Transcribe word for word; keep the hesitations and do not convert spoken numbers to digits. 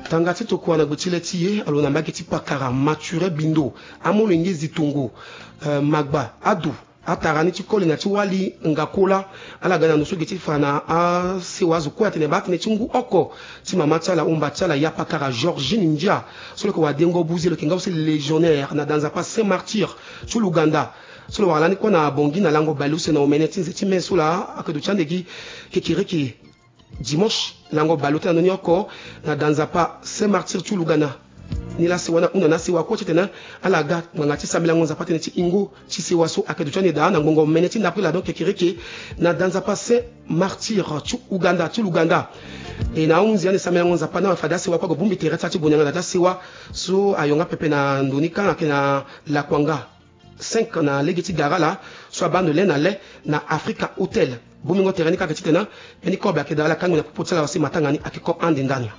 Tanga ti tokua na gbe ti le ti e alo na mbage ti pakara mature bindo amolenge zitongo, eh, magba adu atara ni ti koli na ti wali nga kola. Ala ga na ndo so ge ti fa na asewa azo kue atene baa tënë ti ngu oko ti mama ti ala, omba ti ala, ya pakara Georgine Ndia, so lo yeke wadengo buze, lo yeke nga aussi légionnaire na danzapa Saint Martyr ti Luganda, so lo wara lani kue na Bangui na lango baleuse na omene ti nze ti me so laa ayeke duti ande gi kekereke dimanche lango baleuse na ndoni oko na danzapa Saint Martyr ti Luganda. Ni laa sewa ni ahunda na asewa kue titene ala ga ngbanga ti sambelango Nzapa tënë ti ingo ti sewa so ayeke duti ande daa na ngbongo mene ti ndapre laa, donc kekereke na danzapa Saint Martyr ti Uganda, ti Luganda. E na ahunzi ande sambelango Nzapa ni awe fade asewa kue ague bongbi tere ti ala ti gue na yanga na ya ti asewa so ayonga pepe na ndo ni kâ ayeke na Lakuanga cinq na lege ti gara laa, so abaa ndo le na le na Africa Hotel. Bongbingo tere ni kâ ayeke titene mbeni kobe ayeke daa ala kangbi na popo ti ala si matanga ni ayeke ko ande ndani.